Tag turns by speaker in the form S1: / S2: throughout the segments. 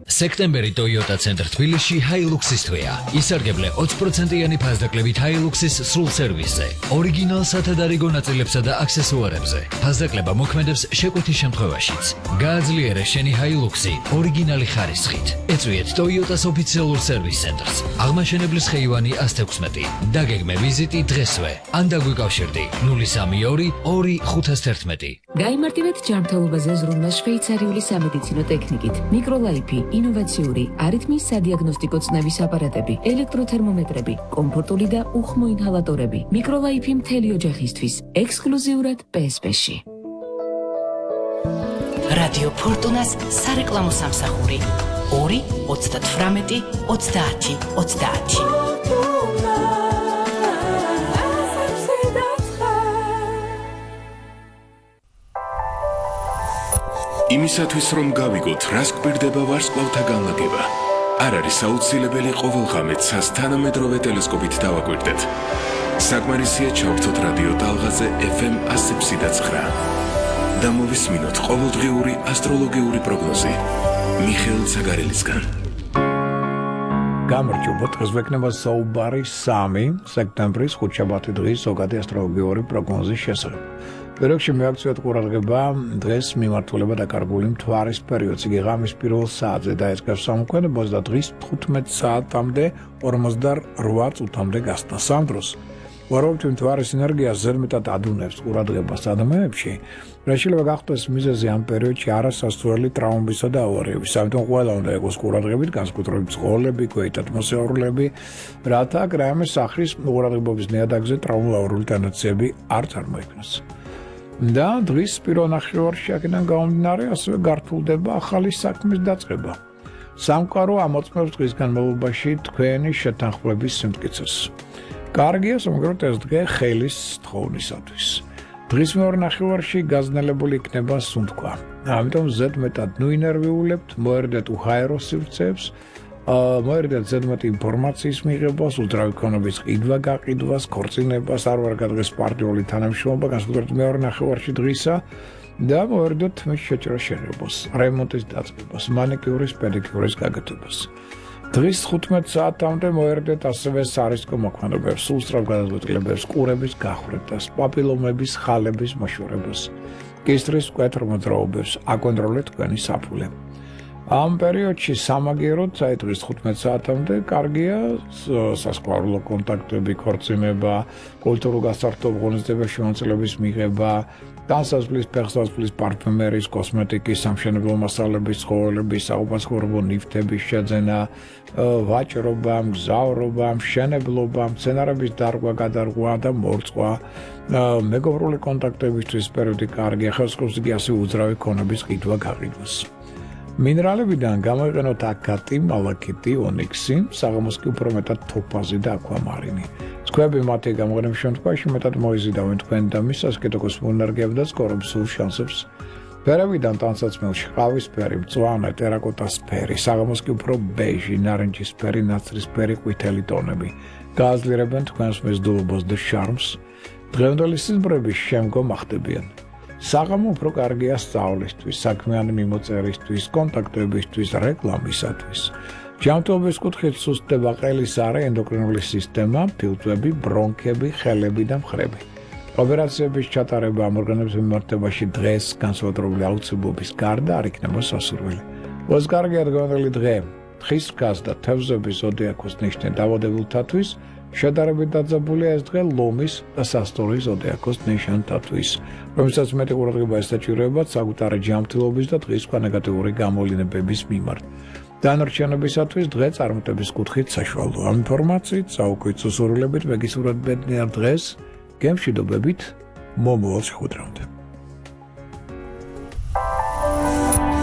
S1: სექტემბერი Toyota Center თბილისში Hilux-ის თვეა. ისარგებლე 20%-იანი ფასდაკლებით Hilux-ის სრულ სერვისზე, ორიგინალ სათადარიგო ნაწილებსა და აქსესუარებზე. ფასდაკლება მოქმედებს შეკვეთის შემთხვევაშიც. გააძლიერე შენი Hilux-ი ორიგინალი ხარისხით. ეწვიეთ Toyota-s ოფიციალურ სერვის ცენტრს. აღმაშენებლის ხეივანი 116. დაგეგმე ვიზიტი დღესვე. ან დაგვიკავშირდი 032 2511.
S2: გაიმარტივეთ ჯანმრთელობაზე ზრუნვა შვეიცარიული სამედიცინო ტექნიკით. მიკროლაიფი, ინოვაციური, არითმიის სადიაგნოსტიკო წნევის აპარატები, ელექტროთერმომეტრები, კომფორტული და უხმო ინჰალატორები. მიკროლაიფი მთელი ოჯახისთვის, ექსკლუზიურად PSP-ში.
S3: რადიო ფორტუნას სარეკლამო სამსახური 2 38 30 30.
S4: იმისათვის რომ გავიგოთ, რას გვირდება ვარსკვლავთა განლაგება, არ არის აუცილებელი ყოველ ღამეც თანამედროვე ტელესკოპით დავაკვირდეთ. საკმარისია ჩავთოთ რადიო ტალღაზე FM 100.9 და მოვისმინოთ ყოველდღიური ასტროლოგიური პროგნოზი მიხეილ ცაგარელისგან.
S5: გამარჯობა, დღეს ვექნება საუბარი 3 სექტემბრის ხუთშაბათი დღის ზოგადი ასტროლოგიური პროგნოზის შესახებ. Perioxe მიაქციოთ ყურადღება დღეს მიმართულება დაკარგული მთვარის პერიოდს. იგი ღამის პირველ საათზე დაიწყებს სამოქმედებას და დღის 15 საათამდე 48 წუთამდე გასტა. სამ დროს ვარაუდით მთვარის ენერგია ზედმეტად ადუნებს ყურადღებას ადამიანებში. შეიძლება გახდეს მიზეზი ამ პერიოდში არასასურველი ტრავმებისა და ავარიების. ამიტომ ყველა უნდა იყოს ყურადღებით განსაკუთრებით ცხოველები, ქვეითად მოსაურულეები, რათა კრამის სახრის ყურადღებობის ნიადაგზე ტრავმატული ტენდენციები არ წარმოიქმნას. და დღის პირველ ნახევარში აქედან გამომდინარე ასევე გართულდება ახალი საქმის დაწყება. სამყარო ამოწმებს დღის განმავლობაში თქვენი შეთანხმების სიმტკიცეს. კარგია სამაგეროთ ეს დღე ხელის თხოვნისათვის. დღის მეორე ნახევარში გაზნელებული იქნება სუნთქვა. ამიტომ ზედმეტად ნუინერვიულებთ, მოერდეთ უჰაერო სივრცეებს, მოერდეთ ზედმეტ ინფორმაციის მიღებას, უძრავი ქონების ყიდვა გაყიდვას, ქორწინებას, არ ვარ გადღეს პარტიული თანამშრომლობა, განსაკუთრებით მეორე ნახევარში დღისა და მოერდეთ მის შეჭრას შენებას, რემონტის დაწყებას, მანიკიურის, პედიკიურის გაკეთებას. დღის 15 საათამდე მოერდეთ ასევე სარისკო მოქმედებებს, სულსწრაფ გადაწყვეტილებებს, ყურების გახვრეტას, პაპილომების ხალების მოშორებას, კისრის მკვეთრ მოძრაობებს, აკონტროლეთ თქვენი საფულე. ამ პერიოდში სამაგიეროდ დღის 15 საათამდე კარგია სასკვალო კონტაქტები, ქორწინება, კულტურულ გასართობ ღონისძიებებში შემოწმების მიღება, განსაზღვრის, ფეხსაცმლის, პარფუმერიის, კოსმეტიკის, სამშენებლო მასალების, ცხოველების, საუბანსხმოებო ნივთების შეძენა, ვაჭრობა, მგზავრობა, მშენებლობა, მცენარების დარგვა, გადარღვა და მორწყვა, მეგობრული კონტაქტებისთვის პერიოდი კარგია, ხელსაყრელში კი ასევე უძრავი ქონების ყიდვა გაყიდვას. მინერალებიდან გამოიყენოთ აკატი, მალაქიტი, ონიქსი, საღამოს კი უფრო მეტად თოფაზი და აკვამარინი. სხვები მათი გამოყენების შემთხვევაში მეტად მოიზიდავენ თქვენ და მის ასკეტოკოს ენერგიებს და სკორებს სულ შანსებს. ფერებიდან ტანსაცმელში ყავისფერი, მწვანე, ტერაკოტასფერი, საღამოს კი უფრო ბეჟი, ნარინჯისფერი, ნაცრისფერი, ყვითელი ტონები. გააძლიერებენ თქვენს მეზდულობას და შარმს. დღევანდელი სიზმრების შემდგომ ახდებიან. საღამო უფრო კარგია სწავლისთვის, საქმიანი მიმოწერისთვის, კონტაქტებისთვის, რეკლამისათვის. ჯანმრთელობის კუთხით სუსტდება ყელის არე, ენდოკრინული სისტემა, ფილტვები, ბრონქები, ხელები და მხრები. ოპერაციების ჩატარება ამ ორგანოების მიმართებაში დღეს განსაკუთრებული აუცილებლობის გარდა არ იქნება სასურველი. ოც კარგია დღევანდელი დღე, თხის რქას და თევზების ზოდიაქოს ნიშნე დაავადებულთათვის, შედარებით დაძაბულია ეს დღე ლომის და სასტორის ზოდიაქოს ნიშანთათვის, რომელსაც მეტი ყურადღება ესაჭიროებათ საკუთარი ჯანმრთელობის და დღის სხვა ნეგატიური გამოვლინებების მიმართ. დანარჩენებისათვის დღე წარმატების კუთხით საშუალოა. ამ ინფორმაციით, საუკვით სუსურულებით მეგისურვებთ ბედნიერ დღეს, გემშვიდობებით, მომავალ შეხვედრამდე.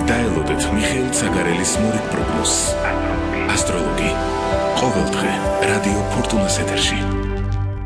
S4: დაელოდეთ მიხეილ ცაგარელის მორიგ პროგნოზს. ასტროლოგი. ყოველ დღე რადიო ფორტუნას ეთერში.